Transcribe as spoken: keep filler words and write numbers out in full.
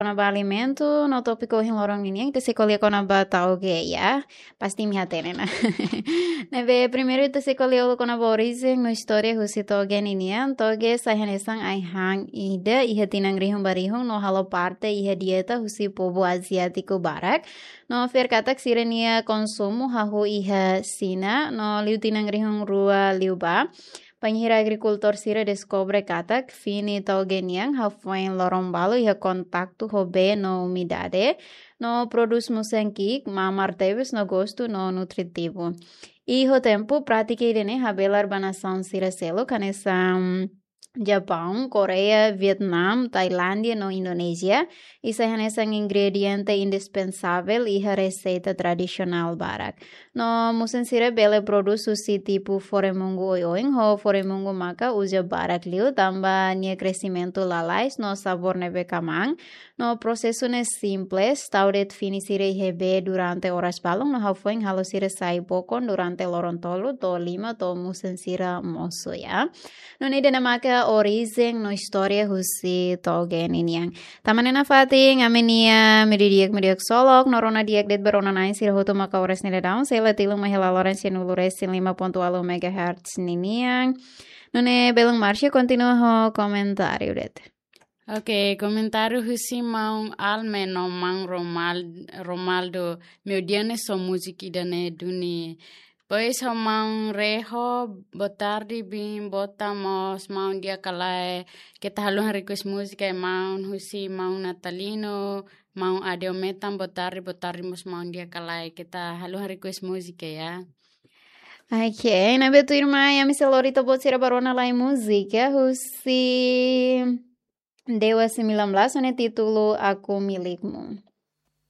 kona-ba alimentu, no tópiku ohin loron ninian ita sei ko'alia kona-ba tauge, ya. Pasti imi hatene ona. Ne'ebé primeiru ita sei ko'alia uluk kona-ba orijen no istória husi tauge ninian. Tauge sai hanesan ai-han ida iha tinan rihun ba rihun no halo parte iha dieta husi povu aziátiku barak. No fiar katak sira-nia konsumu hahú iha Xina, no liu tinan rihun rua liubá, bainhira agrikultór sira deskobre katak fini tauge nian hafoin loron balu iha kontaktu ho bee no umidade, no prodús musen ki'ik, mamar tebes no gostu no nutritivu. I ho tempu, prátika ida-ne'e habelar ba nasaun sira seluk, hanesan Japaun, Koreia, Vietnam, Tailándia no Indonézia, i sai hanesan ingrediente indispensavel iha reseita tradisionál barak. No musen sira bele prodús husi tipu foremungu oioin ho foremungu maka uza barak liu, tanba nia kresimentu lalais no sabór ne'ebé kmaan. No prosesu ne'e simples, tau de'it fini sira iha bee durante oras balun, no hafoin halo sira sai bokon durante loron tolu to'o lima to'o musen sira mosu, ya. Nune'e ida-ne'e maka orijen no istória husi tauge ninian. Tanba ne'e nafatin, ami-nia meiudia di'ak, meiudia di'ak ksolok, no rona di'ak de'it ba rona-na'in sira hotu maka oras ne'e daudaun sei la tilun mai hela loran sianulu resin lima pontu ualu megahertz ninian. Nune'e belun Marcia kontinua ho komentáriu de'it. Oke, komentáriu husi maun Alme no maun Romal-, Romaldo, meiudia ne'e só múzika ida-ne'e duni. Pois ho maun Reho, boa tarde, bin bota mós maun di'ak ka lae. Keta haluha request múzika, maun, husi maun Natalino, maun Adeo Metan, boa tarde, boa tarde mós maun di'ak ka lae. Keta haluha request múzika, ya. Oke, ne'ebé tuirmai, ami sei lori ita-boot sira ba rona lai múzika husi Dewa sembilan belas, ho nia títulu Aku Milikmu.